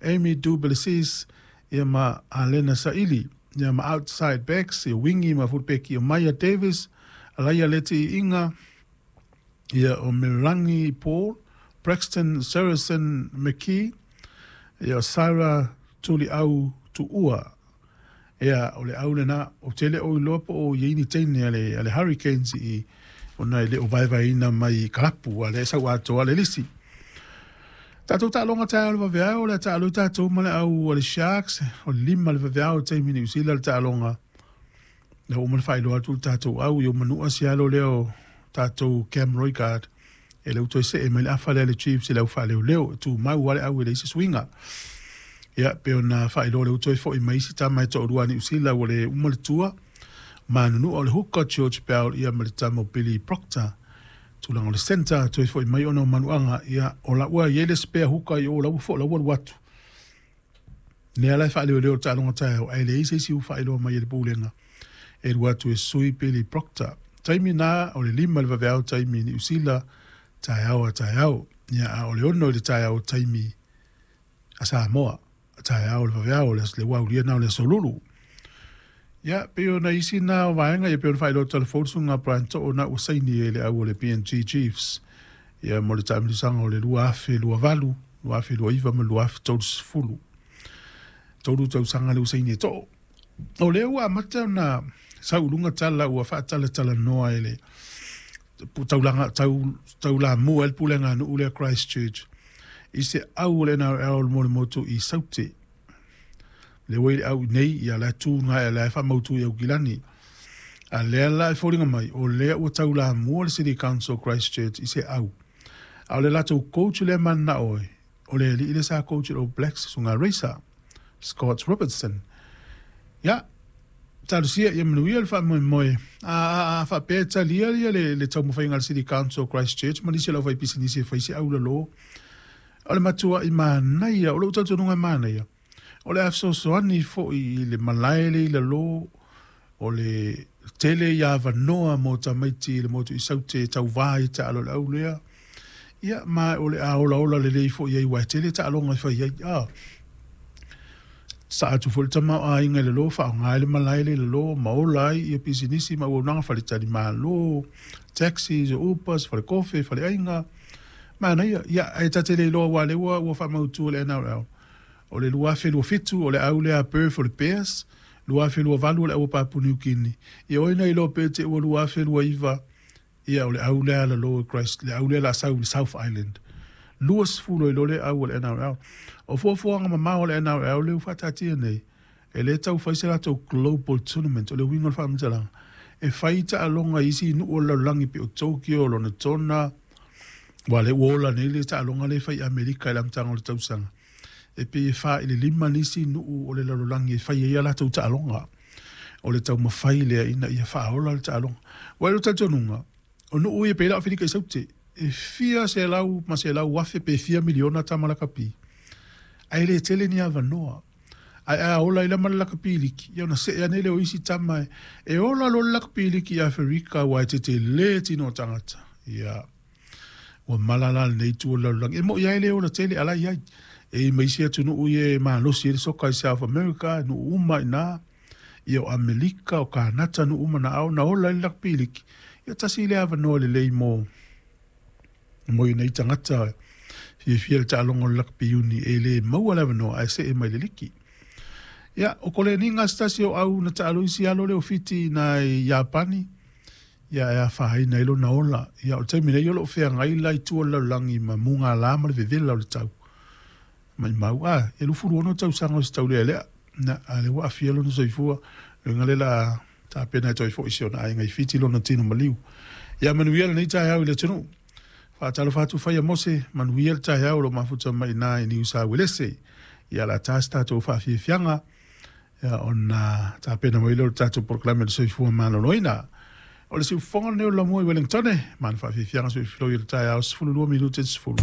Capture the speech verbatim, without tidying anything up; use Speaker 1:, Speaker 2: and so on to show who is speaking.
Speaker 1: Amy Du Plessis, ia ma Alena Saili. Ia ma outside backs, ia wingi ma fulpeki o Maya Davis, Alaia Leti Inga, ia o Merangi Paul, Braxton Saracen McKee, ia o Sarah Tuliau Tuua. Ia o le au lena, o tele o iloa po o iai ni teine a le, a le Hurricanes i ona e le o vaevaeina mai kalapu a le sau atoa le lisi. Tatou taaloga taeao le vaveao, o le a taalo tatou ma le au a le Sharks, o le lima le vaveao taimi Niu Sila le taaloga. Le ua uma ona faailoa atu le tatou au i o manua sialo lea o tatou Cam Roigard e le toe see mai le afa lea le Chiefs i le au faaleoleo e tumau lava le au e leai se suiga. Ia pe ona faailoa le toe foi mai isi tama e toalua a Niu Sila ua le uma le tua. Manunua o le hooker George Bell ia ma le tama o Billy Proctor. Tulaga o le centre toe foi mai ona o manuaga ia o la ua i ai le spare hooker i o la ua fo la ua alu atu. Lea la e faaleoleo le taaloga taeao ae leai se isi ua faailoa mai e le pulega e alu atu e sui Billy Proctor. Taimi na o le lima le vaveao taimi Niu Sila taeao a taeao. Ia a o le ono i le taeao taimi a Samoa. Taeao le vaveao le le ua aulia na o le aso Lulu. Ia pei ona isi na o vaega ia pei ona faailoa telefoni susuga Brian To'o na ua saini e le au o le P N G Chiefs. Ia mo le taamilosaga o le lua afe lua valu, lua afe lua iva ma lua afe tolu sefulu. Tolu tausaga le ua saini e To'o. O lea ua amata ona sauluga tala ua faatalatalanoa e le taulaga tau taulamua e le pulega a nuu lea Christchurch i se au o le N R L mo le motu i Saute. Le ua i le au nei ia la tu ngai la faamautu i Aukilani. A lea la e foliga mai o lea ua taulamua le City Council Christchurch i se au. A o le latou coach lea mananao e o le alii le sa coach o Blacks susuga Racer Scott Robertson. Ia talosia ia manuia le faamoemoe. A a a faapea e talia ia le le taumafaiga a le City Council Christchurch ma nisi o le aufaipisinisi e fai se au lalo. O le matua'i manaia, o lou talitonuga e manaia. O le a fesoasoani fo'i i le malae le i lalo o le tele ia avanoa mo tamaiti i le motu i Saute e tauvā i taalo i le au lea. Ia ma o le a olaola lelei fo'i ai uae tele taaloga e fai ai. A saa atu foi le tamaoaiga i lalo faaaoga ai le malae le i lalo ma ola ai ia pisinisi ma auaunaga faletalimalo, taxis, Ubers, falekofe, faleaiga. Manaia, ia ae ta te le iloa aua o lea ua ua faamautu e le N R L. O le lua afe lua fitu o le au lea a Perth o le Bears, lua afe lua valu o le au a Papua New Guinea. Ia oi na iloa pe te ua lua afe lua iva, ia o le au lea lalo e Christ, le au lea la sau i le South Island. Lua sefulu ai loa le au o le N R L. O fuafuaga mamao o le N R L lea ua faataatia nei, e le tau fai se latou global tournament, o le uiga o le faamatalaga. E fai taaloga i isi nuu o le lalolagi pei o Tokyo, Lonatona, ua le ua ola nei le taaloga lea e fai i Amerika i le amataga o le tausaga. E pei e fa i le lima nisi nuu o le lalolagi e fai ai a latou taaloga. O le taumafai lea ina ia faaola le taaloga. Ua i lou talitonuga, o nuu ia pei la o Aferika i Saute, e fia selau ma selau afe pe fia miliona tama lakapi. Ae le tele ni avanoa. Ae a ola i lama le lakapi liki, ia ona see ane lea o isi tama e, e ola loa le lakapi liki i Aferika ua e tetele tino o tagata. Ia, ua mala la lenei itu o le lalolagi. E mo'i ai le ola tele ala i ai. E i mai isi atunuu ia e malosi ai le soka i South America, nuu uma i ina, ia o Amerika, o Kanata, nuu uma na ao na ola ai le lakapi liki. Ia tasi le avanoa lelei mo mo i nei tagata fiafia le taaloga o le lakapi uni e le maua le avanoa ae see mai le liki. Ia, o Koleniga se tasi o au na taalo isi alo lea o Fiti i na i Iapani, ia e afaina ai lona ola. Ia o le taimi nei o loo feagai la i tua o le lalolagi ma mugala ma le vevela o le tau. Maimau, a, e lufulu ono tausaga o se taulealea. Na, a le ua aafia lona soifua, luga le la tapena e toe fo'i si ona aiga i Fiti lona tino maliu. Ia manuia lenei taeao i le atunuu. Faatalofa atu Faia Mose, manuia le taeao o lo mafuta mai i na i Niu Sauelese. Ia la ta se tatou faafiafiaga, ia ona tapena mai lea o le tatou polokalame o le soifua maloloina. O le siufofoga lenei o le Lamua i Wellington, ma le faafiafiaga soifiloi o le taeao sefululua minute i le sefulu.